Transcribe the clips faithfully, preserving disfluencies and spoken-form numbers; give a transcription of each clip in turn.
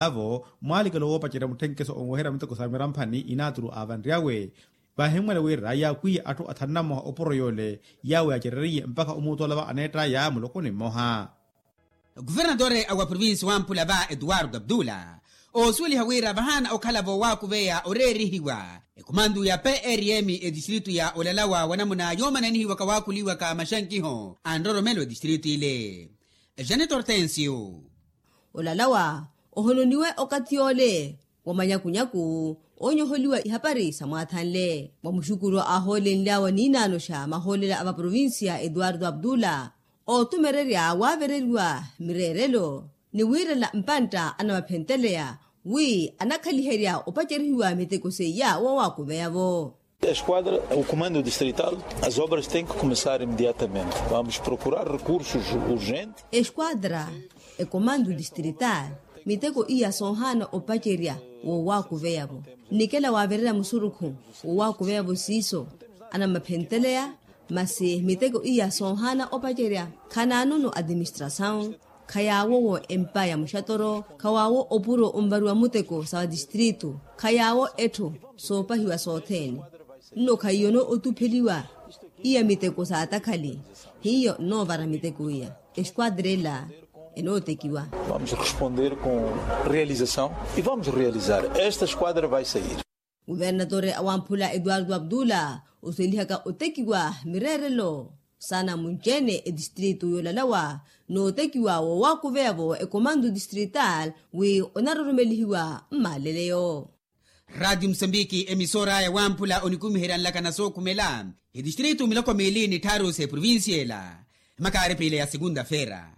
Avo mwaalikelo woopacerya mutthenkeso onweherya miteko sa miramphani inaaturu aavanryawe. Vaahimmwela wira yaakwiye atthu athanu na mmoha opuro yoole yaawo yaacereriye mpakha omuutu olava aneettaya mulokoni mmoha. Kuvernatore wa provinsi wamphula va etuwarto abdula oosuweliha wira vahaana okhala voowakuveya oreerihiwa ekumantu ya prm etistritu ya olalawa wanamuna yoomananihiwaka waakhuliwaka maxankiho a nroromelo etistritu ile. Janet hortensio. Olalawa ohononiwe okathi yoole wa manyakunyaku oonyoholiwa ihapari sa mwathanle mwa muxukuru aahoolenly'awe niinaanoxa mahoolela a vaprovinsiya etuwarto abdula ootumererya waavereriwa mireerelo ni wiirela mpantta anamaphentteleya wi anakhaliherya opacerihiwa miteko seiya woowaakuveyavo. Esquadra o comando distrital as obras tem que começar imediatamente vamos procurar recursos urgentes. Esquadra e comando distrital miteko iya soohaana opacerya woowaakuveyavo nnikela waavererya musurukhu woowaakuveyavo siiso anamaphentteleya masi miteko iya soohaana opacerya khanaanono atiministrasawu khayaawo wo empa ya muxatoro khawaawo opuro onvariwa muteko sa vatistritu khayaawo etthu soopahiwa sothene nno khaiyono otupheliwa iya miteko saatakhali hiyo nnoovara miteko iya esquadra ela enootekiwa. Vamos responder com realização e vamos realizar esta esquadra vai sair. Kuvernatore awamphula etuwarto abdula osuwelihaka otekiwa mireerelo saana munci-ene etistritu yoolalawa nootekiwa woowakuveya-vo ekomantu distrital wi onaroromelihiwa mmaaleleyo. Ratio musambiki emisora yawamphula onikumiherya nlakana sookhumela etistritu miloko miili ni tthaaru s'eprovincia ela makaaripile ya sekunta-feera.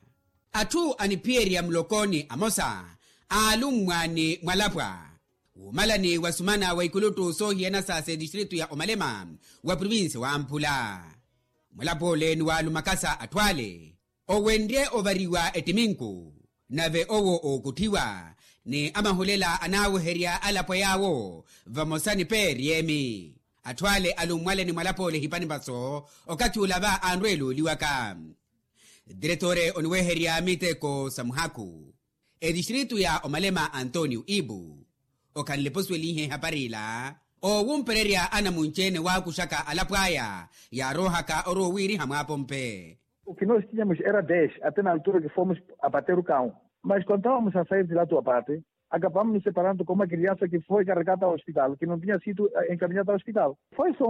Atthu aniphiyerya mulokoni amosa aalummwa ni mwalapwa wuumalani wa sumana wa ikuluttu soohiyana sa s'etistritu ya omalema wa provinsi wamphula. Mwalapwa ole ni waalumakasa atthu ale owenrye ovariwa ettiminku nave owo ookutthiwa ni amahulela anaaweherya alapwa yaawo vamosa ni peeriyemi. Atthu ale alummwale ni mwalapwa ole ehipani vaso okathi ula va anrweela oliwaka. Diretore oniweherya miteko sa muhakhu etistritu ya omalema antonio ibu okhanle posuwelihe ehapari ila oowumpererya anamunci-ene waakuxaka alapw'aya yaaroohaka orowa owiiriha mwaapompe. Okinooxitinya muxi era dexe atte na altura kifomos apateru kawu mas kontávamos a sair de lá tu apate akapamnos separando komu akiriansa kifo ekarekata hospital kinontinya situ enkaminhata hospital. Foi so.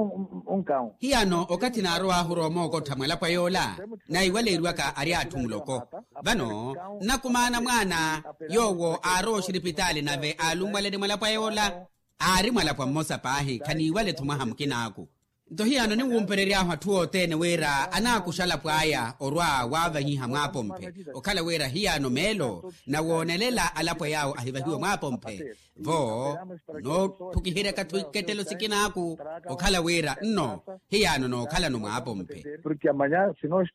Onkawu. Hiyano okathi naarow'ahu roomookottha mwalapwa yoola naiwaleeriwaka ari atthu muloko vano nnakumaana mwaana yoowo aarowa oxiripitaali nave aalummwale ni mwalapwa yoola aari mwalapwa mmosa paahi khaniiwale-tho mwaha mukinaaku. Nto hiyano ninwumperery'ahu atthu othene wira anaakuxa alapw'aya orwa waavahiha mwaapomphe okhala wira hiyano meelo nawoonelela alapwa yaawo ahivahiwe mwaapomphe vo noothukiheryaka-tho ikettelo sikinaaku okhala wira nno hiyano nookhalano mwaapomphe. Porque amanhã se nós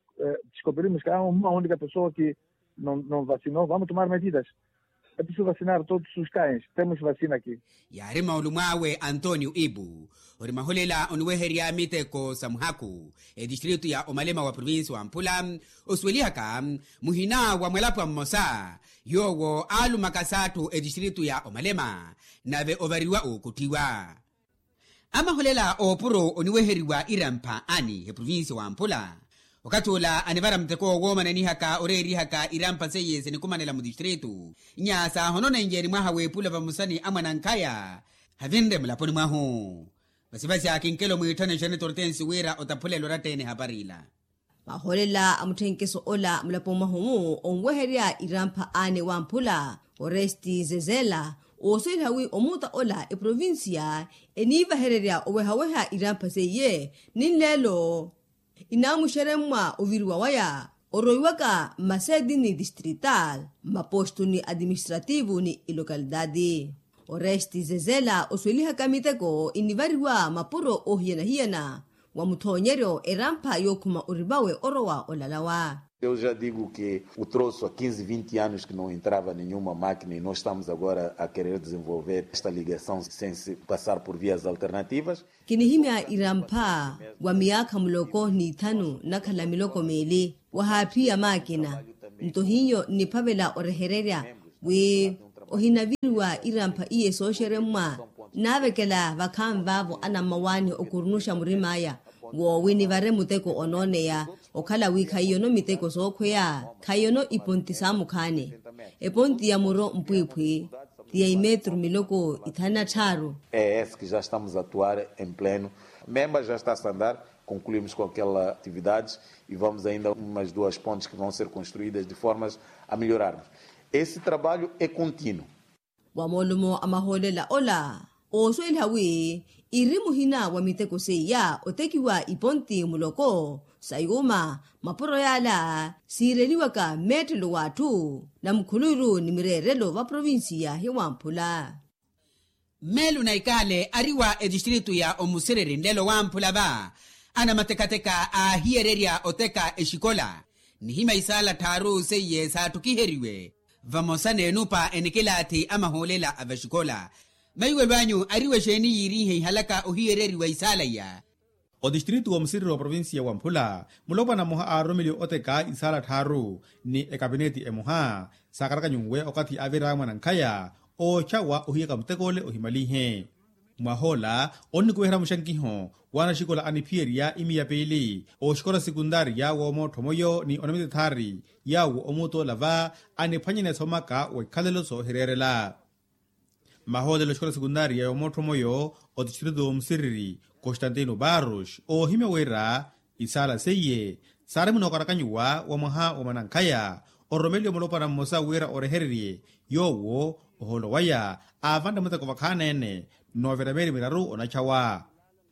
descobrirmos que há uma única pessoa que não vacinou vamos tomar medidas. Episi vacinar todos os cães temos vacina aqui. Yaari maulumw'awe antonio ibu ori mahulela oniweherya miteko sa muhakhu etistritu ya omalema wa provinsi wa mphula osuwelihaka muhina wa mwalapwa mmosa yoowo aalumakasa atthu etistritu ya omalema nave ovariwa ookutthiwa. Amahulela oopuro oniweheriwa irampha ani eprovinsi wa mphula okathi ula anivara muteko woomananihaka oreerihaka irampha seiye sinikumanela mutistritu nya saahononenye ni mwaha w'epula vamosa ni amwanankhaya havinre mulaponi mwahu. Vasivasi akinkelo mwiitthane xane tortensi wira otaphulelo oratta-ene ehapari ila. Mahoolela a mutthenkeso ola mulapo mwahu-mu onweherya irampha aane wamphula oresti zezela oosweliha wi omuuta ola eprovinsiya eniivahererya owehaweha irampha seiye ni nleelo inaamuxeremmwa oviriwa waya oroiwaka mmaseeti ni distrital mmapostu ni atiministrativu ni ilokalitaati. Oresti zezela oswelihaka miteko inivariwa mapuro oohiyana-hiyana wa muthoonyeryo erampha yookhuma orivawe orowa olalawa. Eu já digo que o troço há quinze vinte anos que não entrava nenhuma máquina e nós estamos agora a querer desenvolver esta ligação sem se passar por vias alternativas. Kinihimya irampha wa miyaakha muloko n'ithanu nnakhala miloko miili wahaaphiya maakina. Nto hiyo nniphavela orehererya wi Ohinaviriwa irampha iye sooxeremmwa. Nnaavekela vakhaani vaavo anammawaani okurunuxa murim'aya, woowi nivare muteko onooneya, okhala wi khaiyono miteko sookhweya, khaiyono iponti saamukhaani. Eponti ya muro mpwiiphwi ti ya imetru miloko ithanu na tthaaru. É esse que já estamos a atuar em pleno. Memba já está a andar, concluímos com aquela atividades e vamos ainda umas duas pontes que vão ser construídas de formas a melhorarmos. Esse trabalho é contínuo. Wa moolumo a mahoolela ola, oosweliha wi iri muhina wa miteko seiya otekiwa iponti muloko sa yuuma, mapuro yaala siireliwaka mmeetthelo w'atthu, na mukhuluiru ni mireerelo va provincia ya wamphula. Mmeelu na ikaale ari wa etistritu ya omusiriri nlelo wamphula va, anamatekateka aahiyererya oteka exikola, nihimya isaala tthaaru seiye saattukiheriwe, vamosa n'enupa enikilaathi a mahoolela a vaxikola. Maiwelo anyu ari wa exeeni yiiriihe ihalaka ohiyereriwa isaala iya? Otistritu wa omusiriri wa provincia wa mphula, mulopwana mmoha aaroromeliwe oteka isaala tthaaru ni ekapineti emoha, saakaraka nyuwe okathi aavira mwanankhaya oochawa ohiyaka muteko ole ohimalinhe. Mwahoola onnikuweherya muxankiho w'anaxikola aniphiyerya imiya piili oxikola sekuntaariya w'omoottho moyo ni onamite thaari, yaawo omuutola va aniphwanyane somaka wa ikhalelo soohireerela. Mahoolelo oxikola sekuntaariya y'omoottho moyo otistritu omusiriri, constantino barros, oohimya wira isaala seiye saari munookarakanyuwa wa mwaha wa mwanankhaya, ororomeliwe mulopwana mmosa wira orehererye yoowo, ohoolo waya aavanre muteko vakhaani-ene, n'ovira meeri miraru onachawa.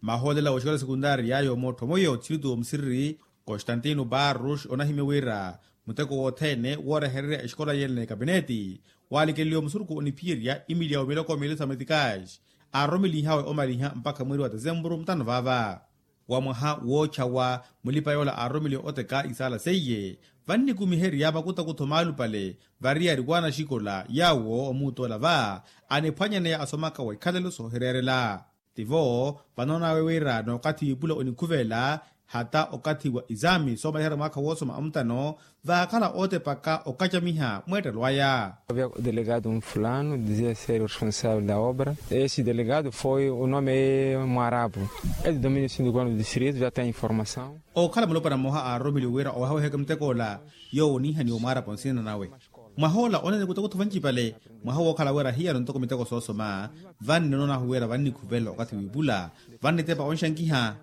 Mahoolela w'oxikola sekuntaariya y'omoottho moyo otistritu omusiriri, constantino barros, onahimya wira muteko wothene woorehererya exikola yene n'ekapineti, waalikeleliwe musurukhu oniphiyerya imiliya wa miloko miili sa metikaaxi, aaroromelinhawe omaliha mpakha mweeri wa tesempuru mutano vaava. Wa mwaha woochawa, mulipa yoola aaroromeliwe oteka isaala seiye, vannikumiherya makutakutho maalupale variyari w'anaxikola yaawo omuutola va aniphwanyaneya asomaka wa ikhalelo soohireerela. Tivo vanoon'awe wira n'okathi w'ipula onikhuvela, hata okathi wa isaami soomaliherya mwaakha woosoma amutano, vaakhala ootepaka okacamiha mweettelo aya. Havia delegado mfulano dizia ser o responsavel da obra. Esse delegado foi o nome é mwarabu. É do domínio sindikano do distrito, já tem informação. Ookhala mulopwana mmoha aaroromeliwe wira owehaweheke muteko ola, yoowo oniihaniwa omwaarapo nsina nawe. Mwaha ola onene kutakutho vancipale, mwaha wookhala wira hiyano ntoko miteko soosoma, vanni onoon'ahu wira vannikhuvela okathi w'ipula, vannitepa onxankiha.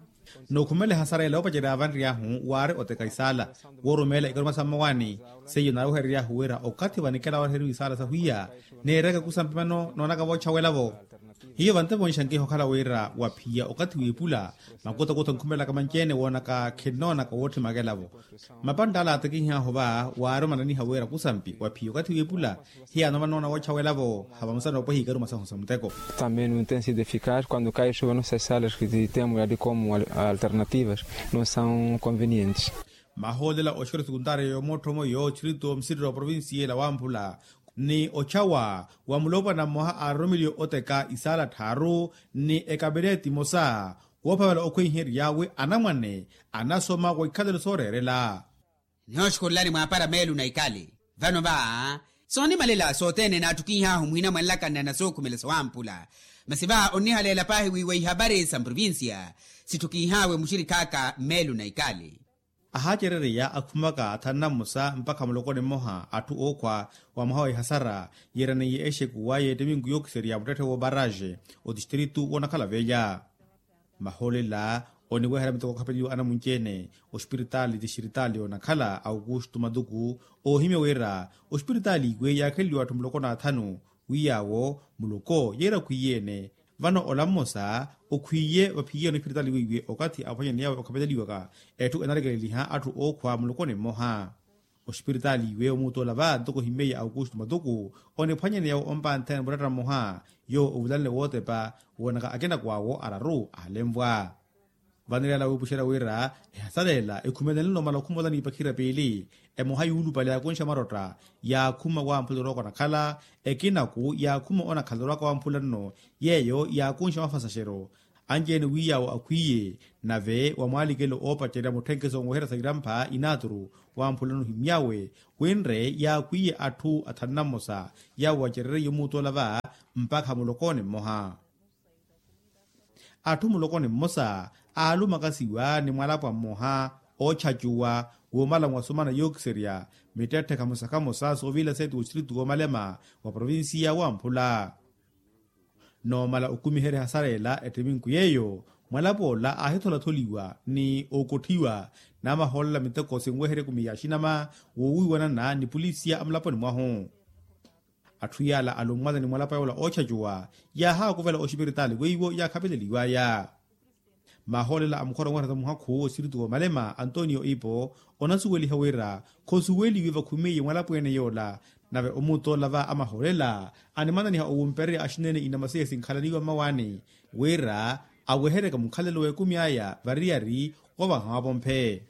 Nookhumela ehasara ela oopacerya vanriy'ahu waari oteka isaala, woorumeela ikaruma sa mmawaani, seiyo naaweherery'ahu wira okathi vanikela ooreheriwa isaala sahwiya, neereke kusampi mano noonaka voochawela-vo. Hiyo vantepa onxankiha okhala wira waphiya okathi w'ipula, makutakutho nkhumelaka manci-ene woonaka khinnoonaka wootthimaka ela-vo. Mapantta ala aatekihih'ahu va waari omananiha wira kusampi waphiya okathi w'ipula, hiyaano vanoona woochawela-vo, havamosa noopweha ikaruma sahu sa muteko. Também não tem sido eficaz quando cai sobre nossas salas que temos ali como al-, alternativas, não são convenientes. Mahoolela oxikola sekuntaariya y'omootthomo yootxirito omusiriri wa provincia ela wamphula, ni ochawa wa mulopwana mmoha aaroromeliwe oteka isaala tthaaru ni ekapineti emosa, woophavela okhweiherya wi anamwane anasoma wa ikhalelo sooreerela. Nihooxukhulelani mwaapara meelu na ikali. Vano va, soonimalela sothene naatthukinh'ahu muhina mwa nlakanna na sookhumela sawamphula. Masi va onnihaleela paahi wi wa ihapari sa mprovincia sitthukinh'awe muxirikh'aka meelu na ikali. Ahaacerereya akhumaka athanu na mmosa mpakha mulokoni mmoha atthu ookhwa wa mwaha wa ihasara yeeraneiye exekuwa y'ettiminku yookiserya muttetthe w'obaraaxe otistritu woonakhala velha. Mahoolela oniweherya miteko okhapeliwa anamunci-ene, ospiritaali tistritaali yoonakhala aukustu matuku, oohimya wira ospiritaali iwe yaakheleliwa atthu muloko n'athanu, wi yaawo muloko yeera khwiiye-ene. Vano ola mmosa okhwiiye vaphiye nospiritaali weiwe okathi aphwanyaneyawe okhapeleliwaka etthu enalekeleliha atthu ookhwa mulokoni mmoha. Ospiritaali iwe omuutola va ntoko ohimmeiye aukustu matuku, oniphwanyaneyawe ompanthene muratta mmoha, yoowo ovulanle wootepa woonaka akinako awo araru aalenvwa. Vaniriyala wiipuxerya wira ehasaleela ekhumelenle omala okhumolani ipakhira piili, emoha yuulupale yaakunxa marotta yaakhuma wamphula orwaka onakhala, ekinaku yaakhuma onakhala orwaka wamphula nno, yeeyo yaakunxa mafasaxero. Anci-ene wi yaawo akhwiiye nave wa mwaalikelo oopacerya mutthenkeso onweherya sa irampha inaaturu wamphulano ohimy'awe wi nre yaakhwiiye atthu athanu na mmosa yaawo acereryiye omuutola va mpakha mulokoni mmoha. Atthu mulokoni mmosa aalumakasiwa ni mwalapwa mmoha oochacuwa woomala mwasumana yookiserya mittetthe khamosa khamosa soovila seeti wostiritu woomalema wa provincia wamphula. Noomala okumiherya hasareela ettiminku yeeyo mwalapwa ola aahitholatholiwa ni okotthiwa namahoolela miteko sinweherya ekumi ya axinama woowiiwanana ni pulisiya amulaponi mwahu. Atthu yaala alummwale ni mwalapwa yoola oochacuwa yaahaakuvela oxipiritaali weiwo yaakhapeleliwaya. Mahoolela a mukhora onwerya muhakhu wosiritu woomalema antonio ipo onasuweliha wira khosuweliwe vakhumeiye mwalapweene yoola. Nave omuutola va amahoolela animananiha owumpererya axinene inamasiya sinkhalaniwa mmawaani wira aweheryaka mukhalelo w'ekumi aya variyari ovaha wapomphe.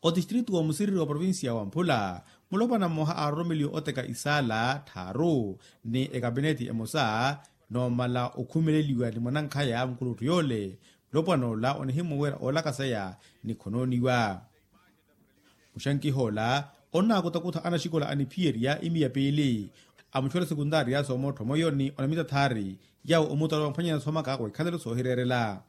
Otistritu woomusiriri wa provincia wamphula mulopwana mmoha aaroromeliwe oteka isaala tthaaru ni ekapineti emosa noomala okhumeleliwa ni mwanankhaya mukulutthu yoole. Mulopwana ola onihimwa wira oolakaseya ni khonooniwa. Muxankiha ola onnaakutakutha anaxikola aniphiyerya imiya piili amuxola sekuntaariya soomottho moyo ni onamita thaari yaawo omuutola wamphwanyana soomaka wikhalelo soohireerela.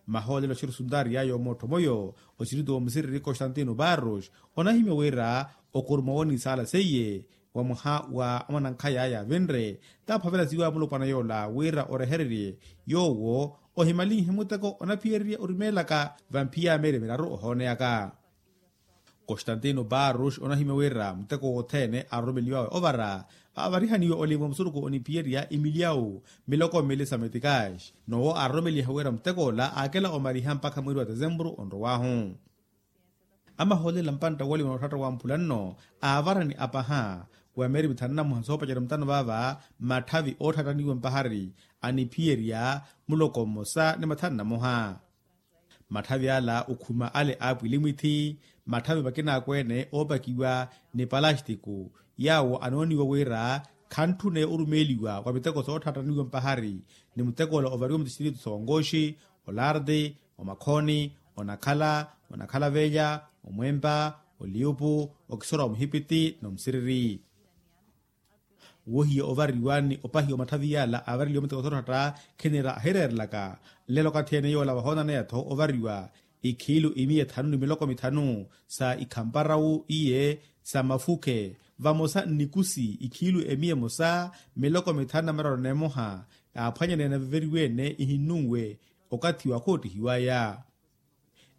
Mahoolelo axerusuntaari yaayo moottho moyo oxiriti woomusiriri constantino barros onahimya wira okuruma wonisaala seiye wa mwaha wa mwanankhaya yaavinre taaphavela siwa mulopwana yoola wira orehererye yoowo ohimalinhe muteko onaphiyererya orimeelaka vamphiya meeri miraru ohooneyaka. Constantino barros onahimya wira muteko wothene aroromeliwawe ovara avarihaniwe olimwa musuruku oniphiyerya imilyawu miloko mili sa metikaxi. Nowo aroromeliha wira muteko ola aakela omariha mpakha mweeri wa tesempuru onrowahu. Amahoolela mpantta wolimwa nootthatta wa mphula nno aavarani apaha wa meeri mithanu na mmoha soopacerya mutano vaava matthavi ootthattaniwa mpahari aniphiyerya muloko mmosa ni mathanu na mmoha. Matthavi ala okhuma ale a apwilimwithi matthavi makinaakweene oopakiwa ni palastiku yaawo anooniwa wira khantthune orumeeliwa wa miteko sootthattaniwa mpahari ni muteko ola ovariwa mutistiritu sa onkoxi, olarti, omakhoni, onakhala, onakhala velya, omwempa, oliupu, okisora wa muhipiti n'omusiriri. Wohiya ovariwa ni opahiwa matthavi yaala aavareliwa muteko sootthatta khinira ahireerelaka. Nlelo okathi ene yoola vahoonaneyatho ovariwa ikhiilu imiya ethanu ni miloko mithanu sa ikhamparawu iye sa mafukhe vamosa nnikusi ikhiilu emiya emosa miloko mithanu na miraru n'emoha yaaphwanyaneya naveveriwe-ene ihinnunwe okathi wa khoottihiwaya.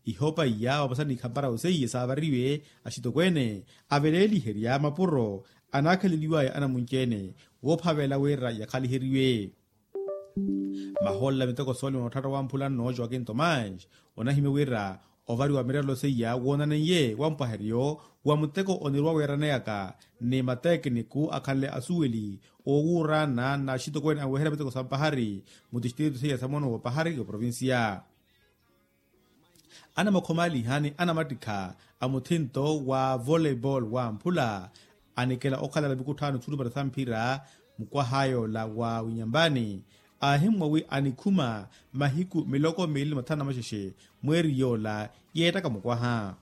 Ihopa iya vamosa n'ikhamparawu seiye saavariwe axitokweene aveleeliherya mapuro anaakheleliwaya anamunci-ene woophavela wira yakhaliheriwe. Mahoolela miteko soolima nootthatta wa mphula nno joaquin tomás onahimya wira ovariwa mirerelo seiya woonaneiye wa mpwaheryo wa muteko onirowa weeraneyaka ni matekiniku akhanle asuweli oowuuraana n'axitokweene aweherya miteko sa mpahari mutistiritu seiya sa moono w'opahari oprovincia. Anamakhomaaliha ni anamattikha a muthinto wa voleibol wa mphula anikela okhalala mikutthaano thulupale sa mphira mukwaha yoola wa winyambani aahimmwa wi anikhuma mahiku miloko miili ni mathanu na maxexe mweeri yoola yeettaka mukwaha.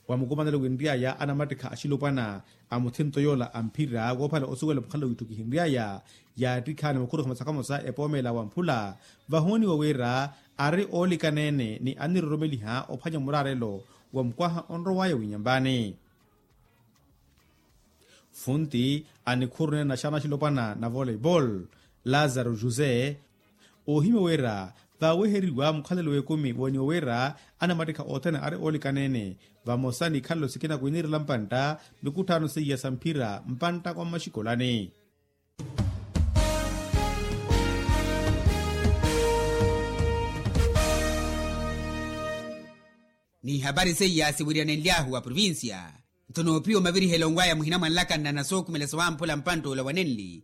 Wa mukumanelo winry'aya anamattikha axilopwana a muthinto yoola a mphira woophala osuwela mukhalelo wiitthu kihinry'aya yaattikhaani mukhuru khamosa khamosa epoomeela wa mphula vahooniwa wira ari oolikaneene ni aniroromeliha ophwanya muraarelo wa mukwaha onrow'aya winyambani. Funti anikhuru neene naxana axilopwana na voleibol lazaro josé oohimya wira vaaweheriwa mukhalelo w'ekumi wooniwa wira anamattikha othene ari oolikaneene vamosa n'ikhalelo sikina kwiinirela mpantta mikutthaano seiya sa mphira mpantta kwa mmaxikolani. N'ihapari seiya siwiriyanenly'ahu wa provincia. Nto noopiwa mavirihelo nw'aya muhina mwa nlakanna na sookhumela sowamphula mpantta ola wa nenli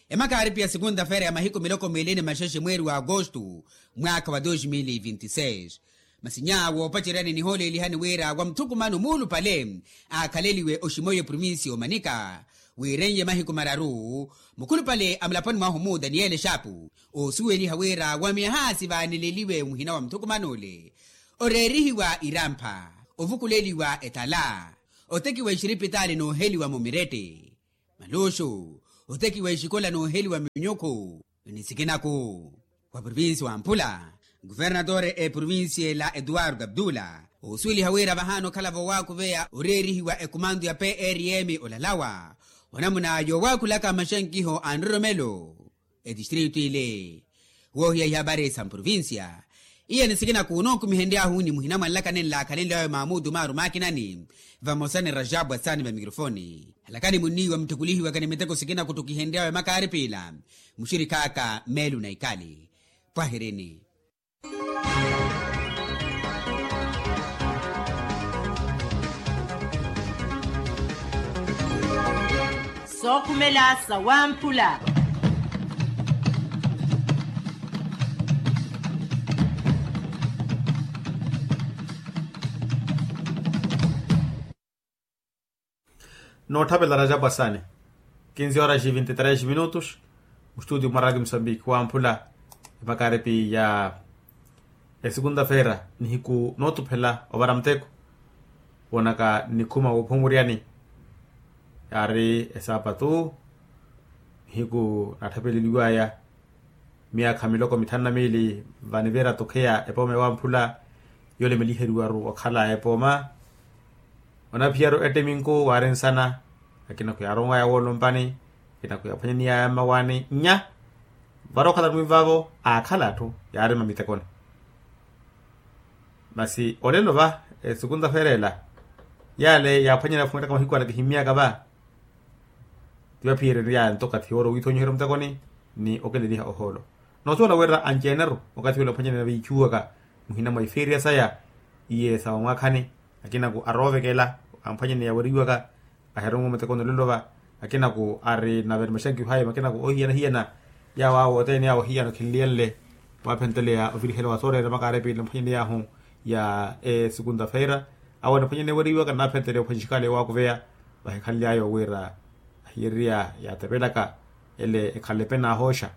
emaka aaripiya sekunta-feira ya mahiku miloko miili ni maxexe mweeri wa agosto mwaakha wa dos mil e vinte e seis. Masi nyaawo opaceryani nihoolelihani wira wa muthukumano muulupale aakhaleliwe oximoiyo provincia omanika wiirenye mahiku mararu. Mukhulupale a mulaponi mwahu mu daniyeli exaapu oosuweliha wira wa myaha sivaaneleliwe muhina wa muthukumano ole oreerihiwa irampha, ovukuleliwa etala, otekiwa exiripitaali nooheliwa mumirette, maluxu, otekiwa exikola nooheliwa minyukhu. Ni sikinaku wa provincia wa mpula, kuvernatore eprovincia ela eduardo abdula oosuweliha wira vahaana okhala voowakuveya oreerihiwa ekumantu ya prm olalawa onamuna yoowakhulaka maxankiho a nroromelo etistritu ile. Woohiya ihabari sa mprovincia iya ni sikinaku onookumihenry'ahu ni muhina mwa nlakani nlaakhalenly'awe maamutu maaru maakinani vamosa ni rajabu asani va mikrofoni. Halakani munniiwa mutthukulihiwaka ni miteko sikinaku ottukihenry'awe makaaripila muxirikhaaka meelu na ikali. Pwahirini. Sookhumela sawamphula. Nootthapela rajapu asani. Kinzi horas e vinti tres minutos. Mustudio mwa radio musambiki wamphula emakaripi ya esukunta feera nihiku nootuphela ovara muteko woonaka nikhuma woophumuryani yaari esaapatu. Nihiku naathapeleliwaya myaakha miloko mithanu na miili vanivira tokheya epooma ewamphula yoolemeliheriwaru okhala epooma. Onaphiyaru ettiminku waari nsana akinaku yaaronwaya woolompani akinaku yaaphwanyaniyaya mmawaani nnya vara okhala mwiivavo aakhala atthu yaarima mitekoni. Masi olelo va esukunta feera ela yale yaaphwanyana yafumettaka mahiku ala kihimmyaka va. Ti vaphiyereryaya nto okathi yoora owiithonyiherya omutekoni ni okeleliha ohoolo. Noosuwela wira anci-ene-ru okathi wela ophwanyaneya viichuwaka muhina mwa ifeeriya saya iye sa vamwaakhani. Akinaku aroovekela amphwanyaneya weriwaka ahironwe mutekoni olelo va. Akinaku ari nave ni maxankiho aya makinaku oohiyana-hiyana. Yaawo awo othene yaawo ohiyana okhinliyenle waaphenteleya ovirihela wa sooreera makaarepile mphwanyaney'ahu ya esukunta feera. Awo anaphwanyane weriwaka naaphenteleya ophwanxikale waakuveya vahikhanly'aya owira ahiyeriya yaatepelaka ele ekhala epena ahooxa.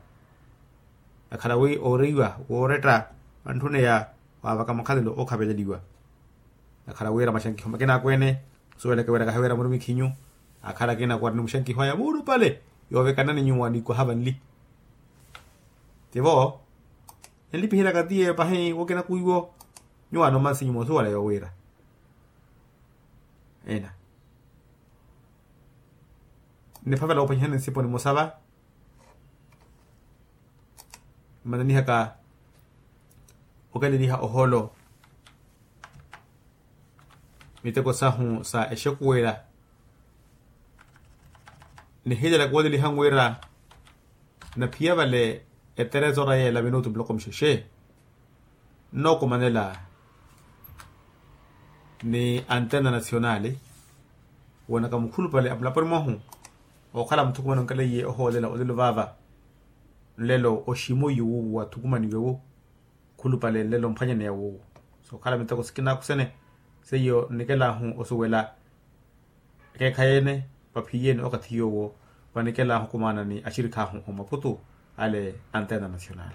Akhala wi ooriwa wooretta antthuneya waavaka makhalelo ookhaveleliwa. Akhala wira maxankiho makina akweene osuweleke wira kahiwira murumikhinyu. Akhala akina kuwara ni muxankiho aya muulupale yoovekanani nyuwo aniikwaha vanli. Tivo enlipihilaka tiye pahi wokina kuiwo nyuwo anomansi nyuwo osuwela yoowira ena. Niphavela woophwanyihani nsipo nimosa va mmananihaka okeleliha ohoolo miteko sahu sa exekuwela. Nihiilela kuweleliha nwira naphiya vale eteretora yeela minutu miloko mixexe nnookumanela ni antena nacionali woonaka mukhulupale a mulaponi mwahu okhala muthukumano nkeleiye ohoolela olelo vaava. Nlelo oximoiyo wuuwo wathukumaniwe wu khulupale nlelo mphwanyaneya wuuwo sookhala miteko sikinaku sene seiyo nnikelaahu osuwela ekeekhayi ene vaphiyeene okathi yoowo vanikelaahu okumana ni axirikhaahu omaputu ale antena nacional.